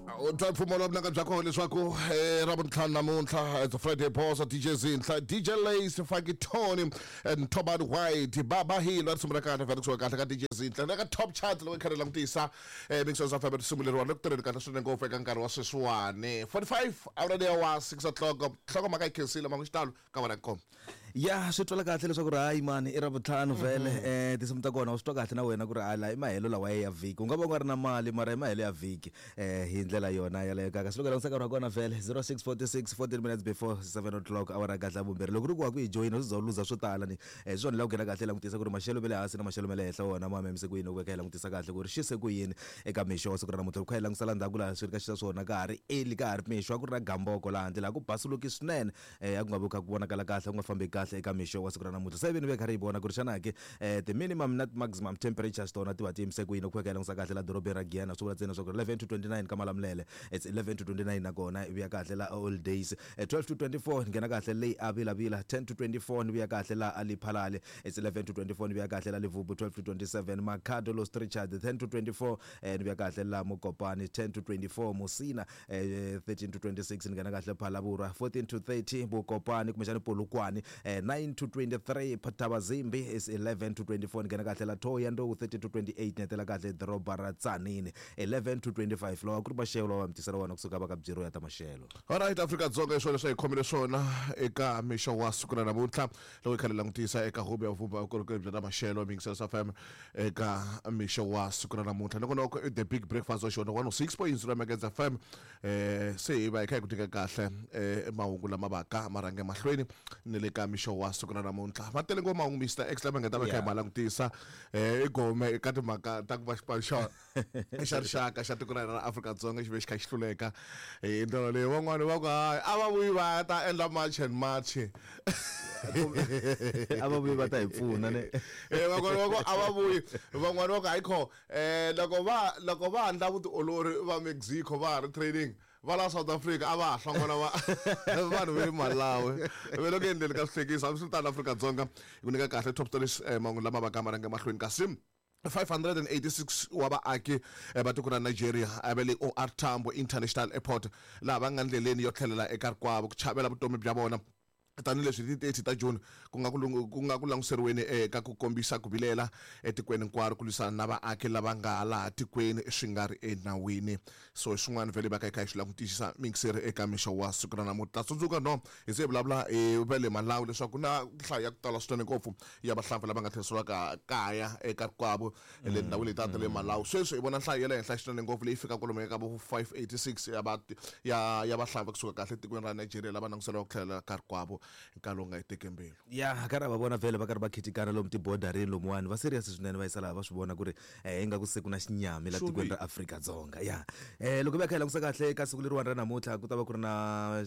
U twa mpfumo lowu vulaka bya kona leswaku ravuntlhanu namuntlha, it's a Friday boss, DJ Zinhla, DJ Lace, Funky Tony and Toban White, Baba Hilo, risimu ra kahle vhele kusuka kahle ka DJ Zinhla na ka top chart loko hi kha hi langutisa mixos of risimu leriwani le ku tirheni kahle swinene ngopfu eka nkarhi wa sweswiwani, 45 awara leya wa 6 o'clock. Nhlokomhaka yi khensile mangu xitalo ka wena koma. Ya, swi twala kahle leswaku ri hayi mani i Ravutlhanu vhele. Tinsimu ta kona u swi twa kahle na wena ku ri hayi la i mahelo lawa ya vhiki, u nga va u nga ri na mali mara i mahelo ya vhiki hi ndlela yona yaleyo. Kaka swi loko langutisa nkarhi wa kona vhele 06:46, 14 minutes before 7 o'clock, awara kahle ya vumbirhi. Loko ri ku wa ku yi joyina swi za u luza swo tala ni swi swona la ku nghena kahle langutisa ku ri maxelo ma le hansi na maxelo ma le henhla wona ma memise ku yini, u veka hi langutisa kahle ku ri xi se ku yini eka mixo wa siku ra namuntlha. Loko kha hi langutisa la ndzhaku laha swi ri ka xisa swona ka ha ri early, ka ha ri mixo, a ku ri na gamboko laha handle laha ku basuluki swinene, a ku nga vi kha ku vonakala kahle, ku nga fambeki kahle eka mixo wa siku ra namuntlha. Se vini ve kha ri yi vona ku ri xana ke ti-minimum na ti-maximum temperatures tona ti va ti yimise ku yini. Ku veka hi langutisa kahle la dorobeni ra Giyani, swi vula ntsena leswaku 11 to 29 ka Malamulele, it's 11 to 29, nakona i vuya kahle la All Days, 12 to 24 ni nghena kahle leyi a Vilavila, 10 to 24 ni vuya kahle la a Lephalale, it's 11 to 24 ni vuya kahle la Levubu, 12 to 27 Makhado Los Richard, 10 to 24 ni vuya kahle la Mokopane, 10 to 24 Musina, 13 to 26 ni nghena kahle Phalaborwa, 14 to 30 Bokopane kumbexani Polokwane, 9 to 23 Thabazimbi, is 11 to 24 ni nghena kahle la Thohoyandou, 13 to 28 ni hetela kahle doroba ra Tzaneen, 11 to 25. Lawa ku ri maxelo lawa mi tisela wona kusuka va ka Bureau ya ta Maxelo. Alright, Afrika-Dzonga, hi swona leswi hi khomile swona eka mixo wa siku ra namuntlha loko hi kha hi langutisa eka huvo ya vumba vukorhokeri bya ta maxelo Mixers FM eka mixo wa siku ra namuntlha. Nongonoko i The Big Breakfast wa xona 106.0 Megahertz FM. Se hi va hi kha hi ku nyika kahle mahungu lama vaka ma rhange mahlweni ni le ka mixo wa siku ra namuntlha. Ma tele ngopfu mahungu, Mr X, lama nga ta va kha hi ma langutisa. I gome eka timhaka ta ku va xipano xa xa rixaka xa tiko ra hina ra Afrika-Dzonga xi ve xi kha xi hluleka hi ndlela leyi. Van'wani va ku hayi, a va vuyi va ta endla march and march. A va vuyi va ta hi pfuna ne. Van'wani va ku a va vuyi, van'wani va ku hayi kho, loko va endla vutiolori va Mexico va ha ri training, va la South Africa a va ha hlongola va vanhu va le Malawi ve le ku endleni ka swihlekisa. Hambiswiritano, Afrika-Dzonga hi ku nyika kahle top stories, mahungu lama va ka ma rhange mahlweni. Kasi 586 wa vaaki va tiko ra Nigeria va le OR Tambo International Airport laha va nga ndleleni yo tlhelela eka rikwavo ku chavela vutomi bya vona, tanihileswi hi ti 30 ta June ku nga ku languseriweni eka ku kombisa ku vilela etikweni hinkwaro ku lwisana na vaaki lava nga laha tikweni swi nga ri enawini. So hi swin'wana vhele va ka hi kha hi swi langutisisa mingiseri eka mixo wa siku ra namuntlha. Tsundzuka no hi se hi vulavula hi va le Malawi leswaku ku na nhlayo ya ku tala swinene ngopfu ya vahlampfa lava nga tlheriseriwaka kaya eka rikwavo le ndhawini leti ta le Malawi. Sweswi hi vona nhlayo ya le henhla swinene ngopfu leyi fika kwalomu eka vo 586 ya va ya ya vahlampfa kusuka kahle etikweni ra Nigeria lava languteriwaka ku tlhelela ka rikwavo nkarhi lowu nga yi teki mbilu. Ya, karhi va vona vhele va karhi va khitikana lomu tibodarini lomuwani, va serious swinene, va yisa laha va swi vona ku ri ingaku se ku na xinyami la tikweni ra Afrika-Dzonga. Ya, loko va kha hi langutisa kahle eka siku leriwani ra namuntlha, ku ta va ku ri na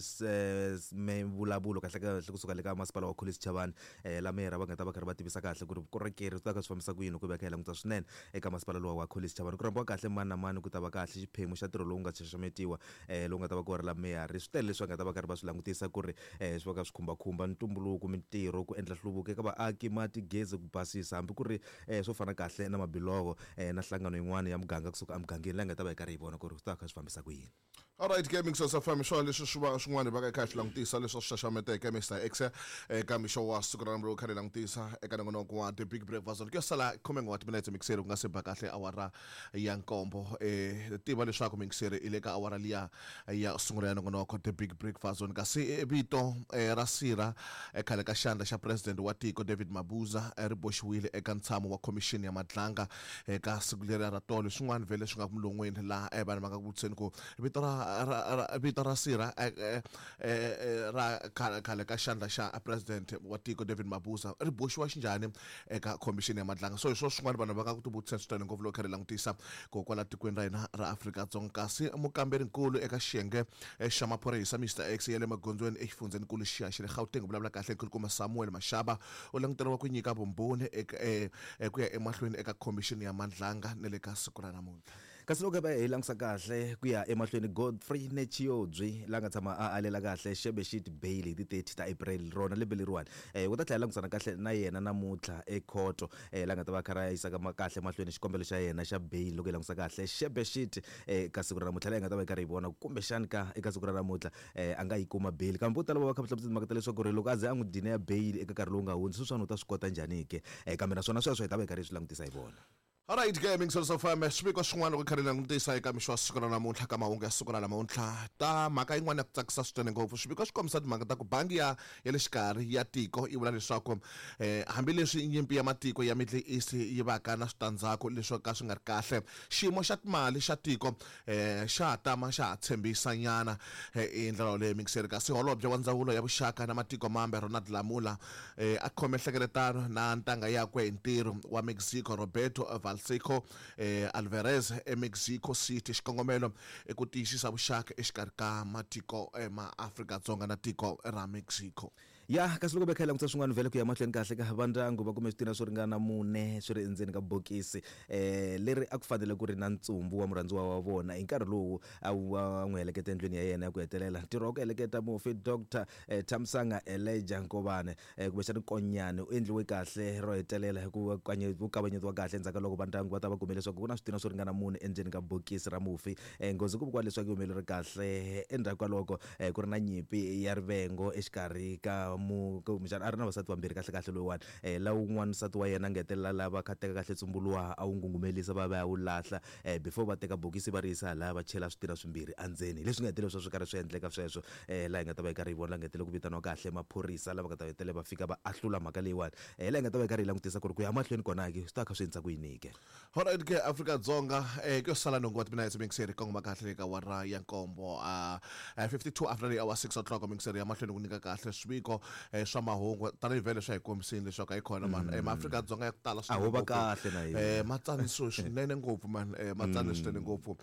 mivulavulo kahle kahle kusuka le ka masipala wa Collins Chabane, la meyara va nga ta va karhi va tivisa kahle ku ri vukorhokeri byi ta ka swi fambisa ku yini. Loko va kha hi languta swinene eka masipala lowa wa Collins Chabane, ku rhambiwa kahle mani na mani, ku ta va kahle xiphemu xa ntirho lowu nga xaxametiwa lowu nga ta va ku ri la meyara. Swi tele leswi va nga ta va karhi va swi langutisa ku ri swi va ka swi khumbakhumba ntumbuluko, mintirho, ku endla nhluvuko eka vaaki, mati, gezi, ku basisa, hambi ku ri swo fana kahle na mabiloho na nhlangano yin'wana ya muganga kusuka emugangeni leyi nga ta va hi karhi hi vona ku ri swi ta va kha swi fambisa ku yini. Alright ke, Mixos FM, swona leswi swi va swin'wana hi va ka hi kha hi swi langutisa leswi swi xaxameteke, Mr X, eka mixo wa siku ra namuntlha kha hi langutisa eka nongonoko wa The Big Breakfast. Ku ya sala khume wa timinetse, mixeri, ku nga se ba kahle awara ya nkombo. Tiva leswaku mixeri i le ka awara liya ya sungula ya nongonoko The Big Breakfast Zone. Kasi vito ra sira khale ka xandla xa president wa tiko David Mabuza ri boxiwile eka ntshamo wa khomixini ya Madlanga eka siku leri ra tolo. Swin'wana vhele swi nga ku mulon'weni laha vanhu va nga ku vutiseni ku vito ra vito ra sirha ra khale ka xandla xa president wa tiko David Mabuza ri boxiwa xinjhani eka khomixini ya Madlanga. So hi swona swin'wana vanhu va nga ku tivutiseni swinene ngopfu loko kha ri langutisa ko kwala tikweni ra hina ra Afrika-Dzonga. Kasi mukamberinkulu eka xiyenge xa maphorisa, Mr X, ya le magondzweni exifundzhenikulu xiya xa le Gauteng, vulavula kahle nkulukumba Samuel Mashaba, u languteriwa ku nyika vumbhoni eka ku ya emahlweni eka khomixini ya Madlanga ni le ka siku ra namuntlha. Kasi loko hi langutisa kahle ku ya emahlweni, Godfrey Netshiobyi la nga tshama a alela kahle Shebeshxt bail hi ti 30 ta April rona lembe leriwani, u ta tlhela langusana kahle na yena namuntlha ekhoto, la nga ta va a karhi a yisa kahle mahlweni xikombelo xa yena xa bail. Loko hi langutisa kahle Shebeshxt ka siku ra namuntlha, laha hi nga ta va hi karhi hi vona kumbexani ka eka siku ra namuntlha a nga yi kuma bail. Kambe vo tala va va kha va hlamusela timhaka ta leswaku ri loko a ze a n'wi deniya bail eka nkarhi lowu nga hundza, sweswiwani u ta swi kota njhani ke? Kambe naswona sweswo hi ta va hi karhi hi swi langutisa hi vona. Alright ke mingiselo swa FM, swiviko swin'wana loko kha ri langutisa eka mixo wa siku ra namuntlha, ka mahungu ya siku ra namuntlha, ta mhaka yin'wana ya ku tsakisa swinene ngopfu. Swiviko swi kombisa timhaka ta ku bangi ya le xikarhi ya tiko yi vula leswaku hambileswi nyimpi ya matiko ya Middle East yi vaka na switandzhaku leswo ka swi nga ri kahle, xiyimo xa timali xa tiko xa ha tama xa ha tshembisa nyana hi ndlela yoleyo mingiseri. Kasi holobye wa ndzawulo ya vuxaka na matiko mambe Ronald Lamola a khome nhlengeletano na ntanga yakwe hi ntirho wa Mexico Roberto Valseco Alvarez eMexico City. Xikongomelo i ku tiyisisa vuxaka exikarhi ka matiko ma Afrika-Dzonga na tiko ra Mexico. Ya, kasi loko bekha hi langutisa swin'wana vhele ku ya mahlweni kahle, ka vandyangu va kume switina swo ringana mune swi ri endzeni ka bokisi leri a ku fanele ku ri na ntsumbu wa murhandziwa wa vona hi nkarhi lowu a va n'wi heleketa endlwini ya yena ya ku hetelela. Ntirho wa ku heleketa mufi Dr Thamsanqa Elijah Nkovane kumbexana Nkonyane u endliwe kahle ro hetelela hi ku kavanyetiwa kahle endzhaku ka loko vandyangu va ta va kume leswaku ku na switina swo ringana mune endzeni ka bokisi ra mufi. Nghozi ku vikiwa leswaku yi humelerile kahle endzhaku ka loko ku ri na nyimpi ya rivengo exikarhi ka mu kumbexana a ri na vasati vambirhi kahle kahle loyiwani, la wun'wana nsati wa yena a nga hetelela lava kha teka kahle ntsumbu luwa a wu ngungumelisa va va ya wu lahla, before va teka bokisi va ri yisa halaya va chela switina swimbirhi endzeni. Hi leswi nga hetelela swi karhi swi endleka sweswo, laha hi nga ta va hi karhi hi vona la nga hetelela ku vitaniwa kahle maphorisa lava nga ta hetelela va fika va ahlula mhaka leyiwani, laha hi nga ta va hi karhi hi langutisa ku ri ku ya mahlweni kona ke swi ta kha swi endlisa ku yini ke. Alright ke Afrika-Dzonga, ku yo sala nhungu wa timinetse mingiseri kongoma kahle le ka awara ya nkombo, 52 after the hour 6 o'clock. Mingiseri ya mahlweni ku nyika kahle swiviko swa mahungu tanihi vhele swa hi kombisini leswaku a yi kona mani, maAfrika-Dzonga ya ku tala A ho va kahle na hina. Ma tsanisiwe swinene ngopfu mani, ma tsanile swinene ngopfu,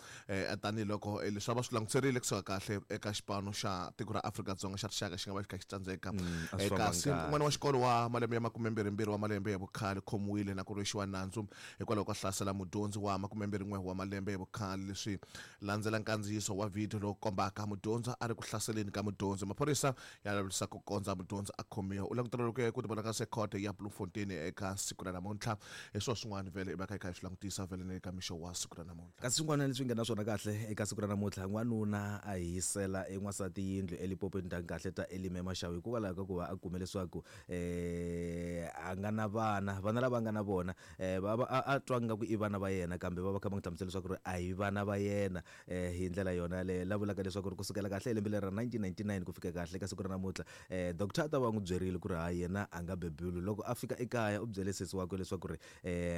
tanihiloko leswi a va swi languterile kusuka kahle eka xipano xa tiko ra Afrika-Dzonga xa rixaka xi nga va xi kha xi tsandzeka. A swi fambanga Kasi kahle. N'wana wa xikolo wa malembe ya 22 wa malembe ya vukhale khomiwile na ku rhwexiwa nandzu hikwalaho ko hlasela mudyondzi wa 21 wa malembe ya vukhale. Leswi landzela nkandziyiso wa vhidiyo lowu kombaka mudyondzi a ri ku hlaseleni ka mudyondzi. Maphorisa ya lavisisa ku kondza mudyondzi a khomiwa. U languteriwe ku tivonakarise ekhoto ya Bloemfontein eka siku ra namuntlha. Hi swona swin'wana vhele hi va kha hi kha hi swi langutisa vhele na le ka mixo wa siku ra namuntlha. Kasi swin'wana leswi nga na swona kahle eka siku ra namuntlha, n'wanuna a hisela en'wansati yindlu eLimpopo etindhawini kahle ta Elim eMashawu hikwalaho ka ku va a kume leswaku a nga na vana. Vana lava a nga na vona va va a twa nga ku i vana va yena, kambe va va kha va n'wi hlamusela leswaku ri a hi vana va yena, hi ndlela yona yaleyo. La vulaka leswaku ri kusukela kahle hi lembe leri ra 1999 ku fika kahle ka siku ra namuntlha, doctor a ta va n'wi byerile ku ri hayi yena a nga bebuli. Loko a fika ekaya u byele sesi wakwe leswaku ri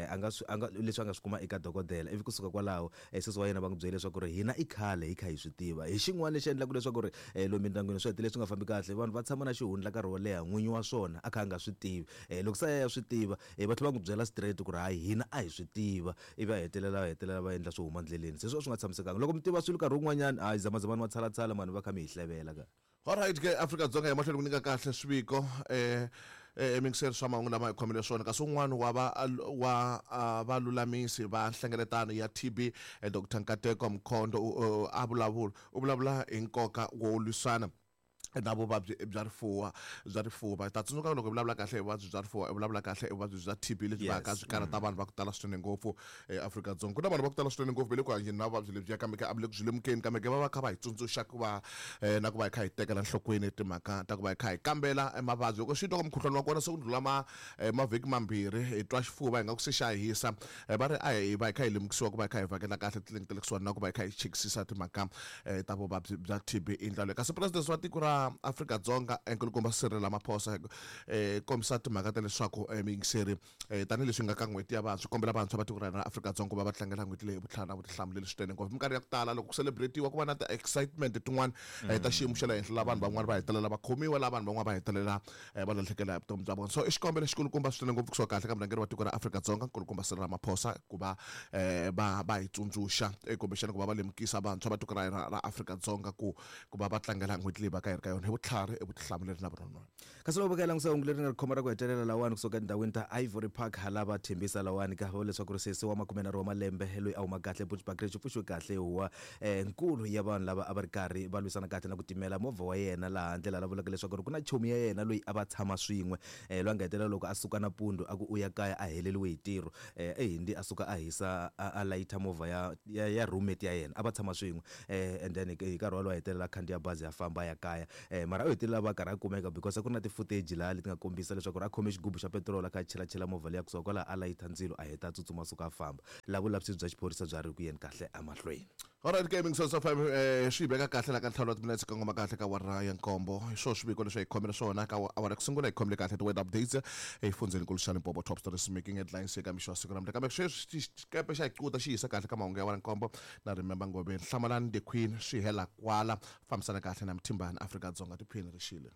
a nga swi a nga leswi a nga swi kuma eka dokodela, ivi kusuka kwalaho sesi wa yena va n'wi byele leswaku ri hina i khale hi kha hi swi tiva. Hi xin'wana lexi endlaka leswaku ri lomu mindyangwini swi hetelela swi nga fambi kahle, vanhu va tshama na xihundla nkarhi wo leha n'winyi wa swona a kha a nga swi tivi. Loko se a ya swi tiva, va tlhela va n'wi byela straight ku ri hayi hina a hi swi tiva, ivi a hetelela va hetelela va endla swo huma ndleleni. Se swo swi nga tshamisekanga loko mi tiva swilo nkarhi wun'wanyana, hayi zamazamani matshalatshala mani va kha mi hi hlevela ka. Alright ke Afrika-Dzonga, hi mahlweni ku nyika kahle swiviko emingiseri swa mahungu lama hi khomele swona. Kasi un'wana wa va wa valulamisi va nhlengeletano ya TB, Dr Nkateko Mkhondo, a vulavula u vulavula hi nkoka wo lwisana na vuvabyi bya rifuwa bya rifuva. Hi ta tsundzuka loko hi vulavula kahle hi vuvabyi bya rifuva, hi vulavula kahle hi vuvabyi bya TB lebyi va ka byi karhata vanhu va ku tala swinene ngopfu eAfrika-Dzonga. Ku na vanhu va ku tala swinene ngopfu va le ku hanyeni na vuvabyi lebyiya, kambe ke a va le ku byi lemukeni, kambe ke va va kha va hi tsundzuxa ku va na ku va hi kha hi tekela enhlokweni timhaka ta ku va hi kha hi kambela mavabyi. Loko swi twa ku mukhuhlwani wa kona se ku ndlhula ma mavhiki mambirhi hi twa xifuva hi nga ku se xa hisa, va ri a hi va hi kha hi lemukisiwa ku va hi kha hi vhakela kahle titliliniki ta le kusuhani na ku va hi kha hi chekisisa timhaka ta vuvabyi bya TB i ndlela leyi. Kasi president wa tiko ra Afrika-Dzonga nkulukumba Cyril Ramaphosa kombisa timhaka ta leswaku muyingiseri, tanihileswi nga ka n'hweti ya vantshwa, kombela vantshwa va tiko ra hina ra Afrika-Dzonga ku va va tlangela n'hweti leyi hi vutlhari na vutihlamuleri swinene ngopfu. Minkarhi ya ku tala loko ku celebrate-iwa ku va na ti-excitement tin'wana ta xiyimo xa le henhla, laha vanhu van'wana va hetelela va khomiwa, laha vanhu van'wana va hetelela va lahlekela hi vutomi bya vona. So i xikombelo xikulukumba swinene ngopfu kusuka kahle ka murhangeri wa tiko ra Afrika-Dzonga nkulukumba Cyril Ramaphosa ku va va hi tsundzuxa, kumbexana ku va va lemukisa vantshwa va tiko ra hina ra Afrika-Dzonga ku va va tlangela n'hweti leyi va ka hi ri ka ka yona hi vutlhari, i vutihlamuleri na vunononi. Kasi loko va ka yi langusa hungu leri nga ri khoma ra ku hetelela lawani kusuka etindhawini ta Ivory Park hala va thembisa lawani ka va leswaku ri sesi wa 30 wa malembe loyi a huma kahle Bushbuckridge u pfuxiwe kahle huwa nkulu ya vanhu lava a va ri karhi va lwisana kahle na ku timela movha wa yena laha handle laha vulaka leswaku ri ku na chomi ya yena loyi a va tshama swin'we loyi a nga hetelela loko a suka nampundzu a ku u ya kaya a heleriwe hi ntirho ehindi a suka a hisa a layitha movha ya roommate ya yena a va tshama swin'we and then hi nkarhi wolowo a hetelela a khandziya bazi a famba a ya kaya. Mara u hetelela va karhi a kumeka because a ku ri na ti-footage laha leti nga kombisa leswaku ri a khome xigubu xa petiroli a kha a chelachela movha liya kusuka kwalaho a layitha ndzilo a heta a tsutsuma a suka a famba. Laha vulavisisi bya xiphorisa bya ri ku yeni kahle emahlweni. Alright Gaming Source of FM swi yi veka kahle la ka ntlhanu wa timinetse kongoma kahle ka awara ya nkombo. Hi swona swiviko leswi hi khomele swona ka awara ku sungula hi khomele kahle ti-weather updates exifundzhenikulu xa Limpopo, top stories making headlines eka mixo wa siku namuntlha. Kambe sweswi xikepe xa hi cuta xi yisa kahle ka mahungu ya awara nkombo na Remember Ngobeni. Hlamalani the Queen swi hela kwala. Fambisana kahle na Mthimbani Afrika-Dzonga tiphini ri xile.